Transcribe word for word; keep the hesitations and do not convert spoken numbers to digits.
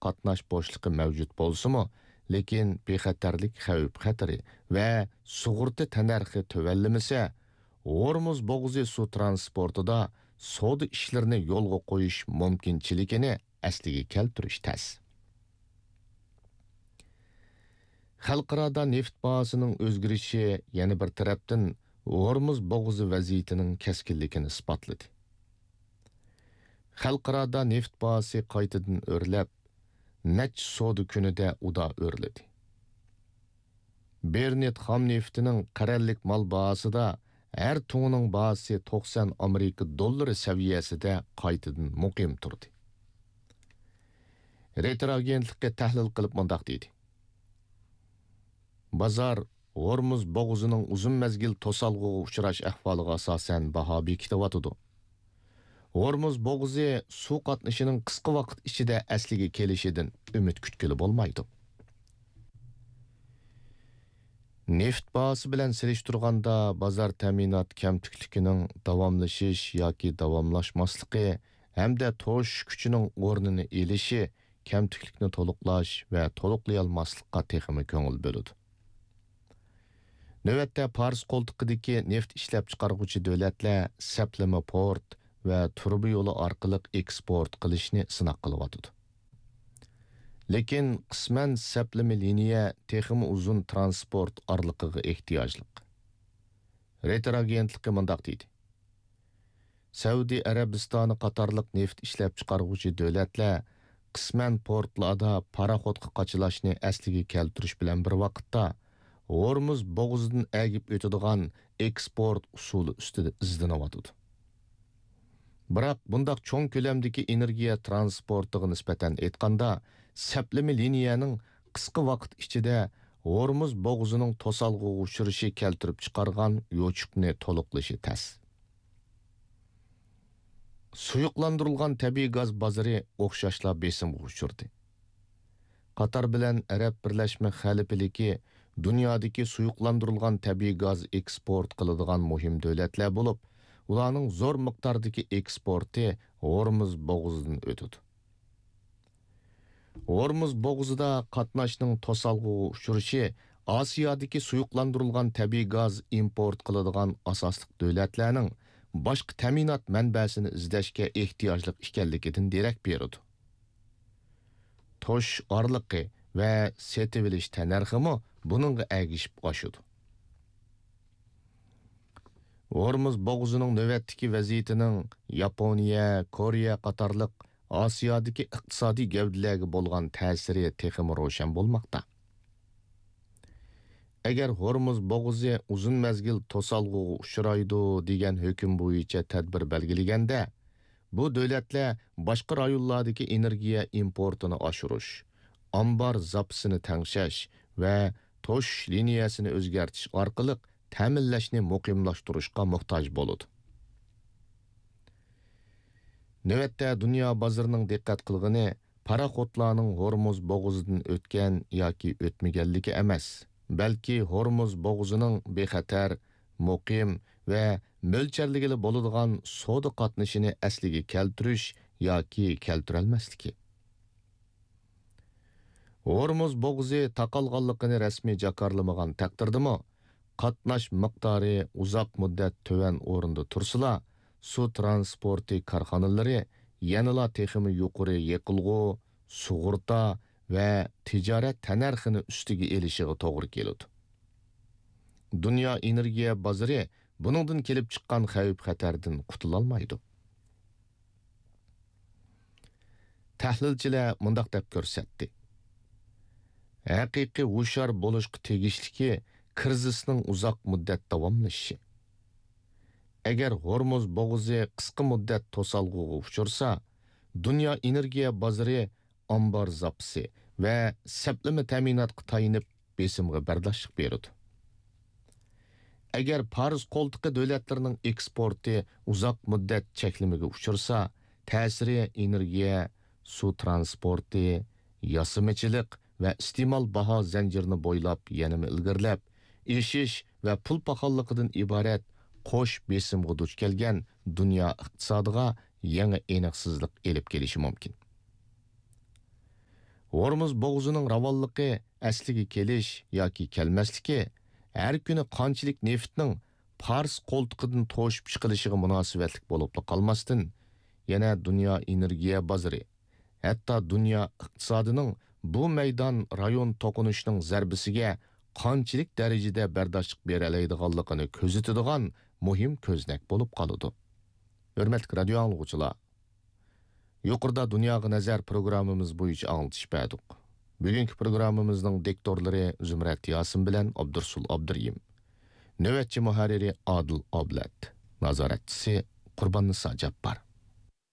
قاتناش بوشلۇقى مەۋجۇت بولسىمۇ، لېكىن بىخەتەرلىك خەۋپ-خەتىرى ۋە سۇغۇرتا تەننەرخى تۆۋەنلىمىسە، ھورمۇز بوغۇزى سۇ ترانسپورتىدا سودا ئىشلىرىنى يولغا قويۇش مۇمكىنچىلىكىنى ئەسلىگە كەلتۈرۈش تەس. خەلقئارادا نېفىت باھاسىنىڭ ئۆزگىرىشى يەنە بىر تەرەپتىن ھورمۇز بوغۇزى ۋەزىيىتىنىڭ كەسكىنلىكىنى ئىسپاتلىدى. خەلقئارادا نېفىت باھاسى قايتىدىن ئۆرلەپ، نەچچە سودا كۈنىدە ئۇدا ئۆرلىدى. بېرنت خام نېفىتىنىڭ قەرەللىك مال باھاسىدا ھەر تۇڭىنىڭ باھاسى توقسان ئامېرىكا دوللىرى سەۋىيەسىدە قايتىدىن مۇقىم تۇردى. رېتېر ئاگېنتلىقى تەھلىل قىلىپ مۇنداق دېدى: بازار ھورمۇز بوغۇزىنىڭ ئۇزۇن مەزگىل توسالغۇغا ئۇچراش ئەھۋالىغا ئاساسەن باھا بېكىتىۋاتىدۇ. ھورمۇز بوغۇزى سۇ قاتنىشىنىڭ قىسقا ۋاقىت ئىچىدە ئەسلىگە كېلىشىدىن ئۈمىد كۈتكىلى بولمايدۇ. نېفىت باھاسى بىلەن سېلىشتۇرغاندا، بازار تەمىنات كەمتۈكلۈكىنىڭ داۋاملىشىش ياكى داۋاملاشماسلىقى ھەمدە توشۇش كۈچىنىڭ ئورنىنى ئېلىشى كەمتۈكلۈكنى تولۇقلاش ۋە تولۇقلىيالماسلىققا تېخىمۇ كۆڭۈل بۆلىدۇ. نۆۋەتتە پارس قولتۇقىدىكى نېفىت ئىشلەپچىقارغۇچى دۆلەتلەر سەپلىمە پورت ۋە تۇرۇبا يولى ئارقىلىق ئېكسپورت قىلىشنى سىناق قىلىۋاتىدۇ. لېكىن قىسمەن سەپلىمە لىنىيە تېخىمۇ ئۇزۇن ترانسپورت ئارىلىقىغا ئېھتىياجلىق. رېتېر ئاگېنتلىقى مۇنداق دېدى: سەئۇدى ئەرەبىستانى قاتارلىق نېفىت ئىشلەپچىقارغۇچى دۆلەتلەر قىسمەن پورتلاردا پاراخوتقا قاچىلاشنى ئەسلىگە كەلتۈرۈش بىلەن بىر ۋاقىتتا، ھورمۇز بوغۇزىدىن ئەگىپ ئۆتىدىغان ئېكسپورت ئۇسۇلى ئۈستىدە ئىزدىنىۋاتىدۇ. بىراق، بۇنداق چوڭ كۆلەمدىكى ئېنېرگىيە ترانسپورتىغا نىسبەتەن ئېيتقاندا، سەپلىمە لىنىيەنىڭ قىسقا ۋاقىت ئىچىدە ھورمۇز بوغۇزىنىڭ توسالغۇغا ئۇچرىشى كەلتۈرۈپ چىقارغان يوچۇقنى تولۇقلىشى تەس. سۇيۇقلاندۇرۇلغان تەبىئىي گاز بازىرى ئوخشاشلا بېسىمغا ئۇچرىدى. قاتار بىلەن ئەرەب بىرلەشمە خەلىپىلىكى دۇنيادىكى سۇيۇقلاندۇرۇلغان تەبىئىي گاز ئېكسپورت قىلىدىغان مۇھىم دۆلەتلەر بولۇپ، ئۇلارنىڭ زور مىقداردىكى ئېكسپورتى ھورمۇز بوغۇزىدىن ئۆتىدۇ. ھورمۇز بوغۇزىدا قاتناشنىڭ توسالغۇغا ئۇچرىشى ئاسىيادىكى سۇيۇقلاندۇرۇلغان تەبىئىي گاز ئىمپورت قىلىدىغان ئاساسلىق دۆلەتلەرنىڭ باشقا تەمىنات مەنبەسىنى ئىزدەشكە ئېھتىياجلىق ئىكەنلىكىدىن دېرەك بېرىدۇ. توشۇش ئارىلىقى ۋە سېتىۋېلىش تەننەرخىمۇ بۇنىڭغا ئەگىشىپ ئاشىدۇ. ھورمۇز بوغۇزىنىڭ نۆۋەتتىكى ۋەزىيىتىنىڭ ياپونىيە، كورېيە قاتارلىق ئاسىيادىكى ئىقتىسادىي گەۋدىلەرگە بولغان تەسىرى تېخىمۇ روشەن بولماقتا. ئەگەر ھورمۇز بوغۇزى ئۇزۇن مەزگىل توسالغۇغا ئۇچرايدۇ دېگەن ھۆكۈم بويىچە تەدبىر بەلگىلىگەندە، بۇ دۆلەتلەر باشقا رايونلاردىكى ئېنېرگىيە ئىمپورتىنى ئاشۇرۇش، ئامبار زاپىسىنى تەڭشەش ۋە توشۇش لىنىيەسىنى ئۆزگەرتىش ئارقىلىق تەمىنلەشنى مۇقىملاشتۇرۇشقا موھتاج بولىدۇ. نۆۋەتتە دۇنيا بازىرىنىڭ دىققەت قىلغىنى پاراخوتلارنىڭ ھورمۇز بوغۇزىدىن ئۆتكەن ياكى ئۆتمىگەنلىكى ئەمەس، بەلكى ھورمۇز بوغۇزىنىڭ بىخەتەر، مۇقىم ۋە مۆلچەرلىگىلى بولىدىغان سودا قاتنىشىنى ئەسلىگە كەلتۈرۈش ياكى كەلتۈرەلمەسلىكى. ھورمۇز بوغۇزى تاقالغانلىقىنى رەسمىي جاكارلىمىغان تەقدىردىمۇ، قاتناش مىقدارى ئۇزاق مۇددەت تۆۋەن ئورۇندا تۇرسىلا، سۇ ترانسپورتى كارخانىلىرى يەنىلا تېخىمۇ يۇقىرى يېقىلغۇ، سۇغۇرتا ۋە تىجارەت تەننەرخىنى ئۈستىگە ئېلىشىغا توغرا كېلىدۇ. دۇنيا ئېنېرگىيە بازىرى بۇنىڭدىن كېلىپ چىققان خەۋپ-خەتەردىن قۇتۇلالمايدۇ. تەھلىلچىلەر مۇنداق دەپ كۆرسەتتى: ھەقىقىي ھوشيار بولۇشقا تېگىشلىكى كىرىزىسنىڭ ئۇزاق مۇددەت داۋاملىشىشى. ئەگەر ھورمۇز بوغۇزى قىسقا مۇددەت توسالغۇغا ئۇچرىسا، دۇنيا ئېنېرگىيە بازىرى ئامبار زاپىسى ۋە سەپلىمە تەمىناتقا تايىنىپ بېسىمغا بەرداشلىق بېرىدۇ. ئەگەر پارس قولتۇقى دۆلەتلىرىنىڭ ئېكسپورتى ئۇزاق مۇددەت چەكلىمىگە ئۇچرىسا، تەسىرى ئېنېرگىيە، سۇ ترانسپورتى، ياسىمىچىلىق ۋە ئىستېمال باھا زەنجىرىنى بويلاپ يەنىمۇ ئىلگىرىلەپ، ئېشىش ۋە پۇل پاخاللىقىدىن ئىبارەت قوش بېسىمغا دۇچ كەلگەن دۇنيا ئىقتىسادىغا يېڭى ئېنىقسىزلىق ئېلىپ كېلىشى مۇمكىن. ھورمۇز بوغۇزىنىڭ راۋانلىقى ئەسلىگە كېلىش ياكى كەلمەسلىكى ھەر كۈنى قانچىلىك نېفىتنىڭ پارس قولتۇقىدىن توشۇپ چىقىلىشىغا مۇناسىۋەتلىك بولۇپلا قالماستىن، يەنە دۇنيا ئېنېرگىيە بازىرى، ھەتتا دۇنيا ئىقتىسادىنىڭ بۇ مەيدان رايون توقۇنۇشىنىڭ زەربىسىگە قانچىلىك دەرىجىدە بەرداشلىق بېرەلەيدىغانلىقىنى كۆزىتىدىغان مۇھىم كۆزنەك بولۇپ قالىدۇ. ھۆرمەتلىك رادىيو ئاڭلىغۇچىلار! يۇقىرىدا دۇنياغا نەزەر پروگراممىمىز بويىچە ئاڭلىتىش بەردۇق. بۈگۈنكى پروگراممىمىزنىڭ دىكتورلىرى زۇمرەت ياسىن بىلەن ئابدۇرسۇل ئابدۇرېھىم. نۆۋەتچى مۇھەررىرى ئادىل ئابلەت. نازارەتچىسى قۇرباننىسا جاپپار.